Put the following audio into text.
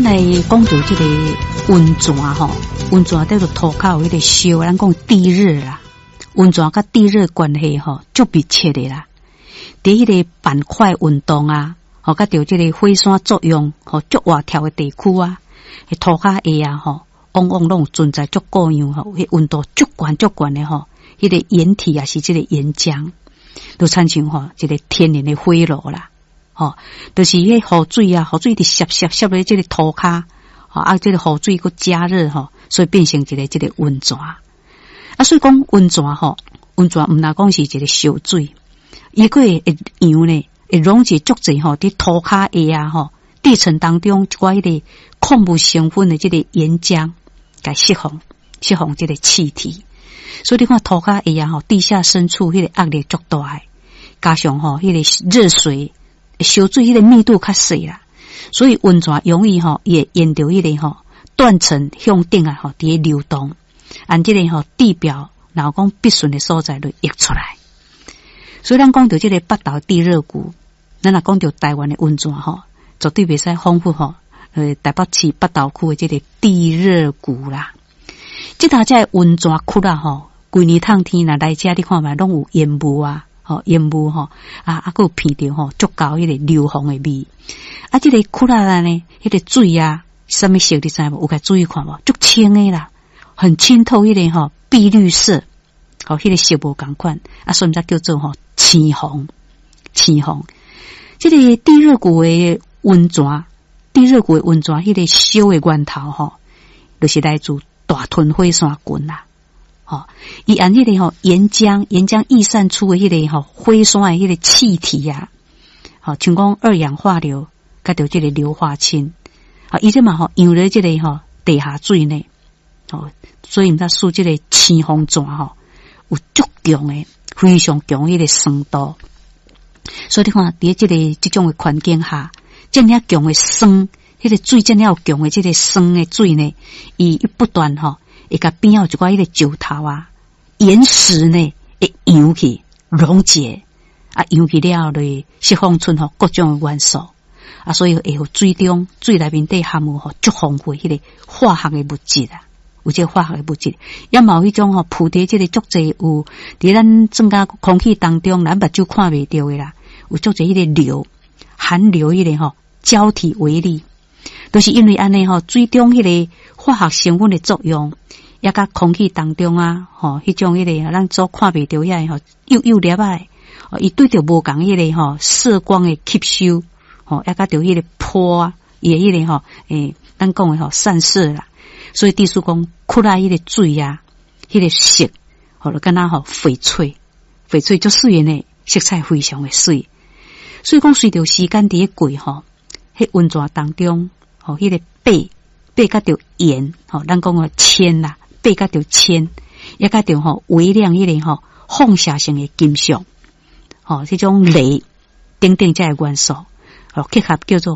咱來講著這個溫泉吼，溫泉佇個塗跤有彼個燒，咱講地熱啦。溫泉佮地熱關係吼，足密切的啦。佇彼個板塊運動啊，吼，佮著這個火山作用，吼，足活跳的地區啊，彼塗跤下啊，吼，往往攏有存在足各樣吼，彼溫度足懸足懸的吼，彼個岩體啊，是這個岩漿，就親像吼一個天然的火爐啦。吼，就是彼雨水啊，雨水直澀澀澀咧這個塗跤，吼啊，這個雨水閣加熱吼，所以變成一個這個溫泉。啊，所以講溫泉吼，溫泉毋若講是一個燒水，伊閣會會溶呢，會溶解足濟吼，佇塗跤下啊吼，地層當中一寡彼個礦物成分的這個岩漿，共釋放，釋放這個氣體。所以你看塗跤下啊吼，地下深處彼個壓力足大的，加上吼彼個熱水。燒水彼個密度較細啦，所以溫泉容易吼，伊會沿著彼個吼斷層向頂啊吼，佇咧流動，按這個吼地表，若講必順的所在就溢出來。所以咱講著這個北投地熱谷，咱若講著台灣的溫泉吼，絕對袂使恍惚吼，台北市北投區的這個地熱谷啦。這頭這個溫泉窟啊吼，規年冬天若來遮，你看覓攏有煙霧啊。吼煙霧吼，啊啊，閣有鼻著吼，足夠彼個硫磺的味。啊，這個窟仔呢，彼個水啊，啥物色你知無？有共注意看無？足清的啦，很清透，彼個吼碧綠色，吼彼個色無仝款，啊，所以才叫做吼青紅。青紅。這個地熱谷的溫泉，地熱谷的溫泉，彼個燒的源頭吼，就是來自大屯火山群啦。吼，伊按彼個吼岩漿，岩漿逸散出的彼個吼火山的彼個氣體啊，吼，像講二氧化硫，佮著這個硫化氫，吼，伊這嘛吼溶咧這個吼地下水呢，吼，所以毋才使這個青峰泉吼有足強的、非常強彼個酸度。所以你看，佇這個這種的環境下，這爾強的酸，彼個水這爾有強的這個酸的水呢，伊不斷吼，會共邊仔有一寡彼個石頭啊、岩石呢，會溶去溶解，啊，溶去了後就會釋放出吼各種的元素，啊，所以會予水中水內面底含有吼足豐富彼個化學的物質啊，有這個化學的物質，也嘛有彼種吼浮佇這個足濟有佇咱增加空氣當中，咱目睭看袂著的啦，有足濟彼個硫含硫彼個吼膠體微粒，都是因為按呢吼水中彼個化學成分的作用。也佮空氣當中啊，吼，彼種彼個咱所看袂著遐個吼，幼幼粒仔，伊對著無仝彼個吼色光的吸收，吼，也佮著彼個波啊，伊的彼個吼，咱講的吼散射啦。所以意思講，窟仔彼個水啊，彼個色，吼，就敢若吼翡翠，翡翠足媠的呢，色彩非常的媠。所以講，隨著時間佇咧過吼，彼溫泉當中，吼，彼個鉑鉑佮著鹽，吼，咱講的鉛啦。鉑佮著鉛，也佮著吼微量彼個吼放射性的金屬，吼這種鐳等等這個元素，吼結合叫做。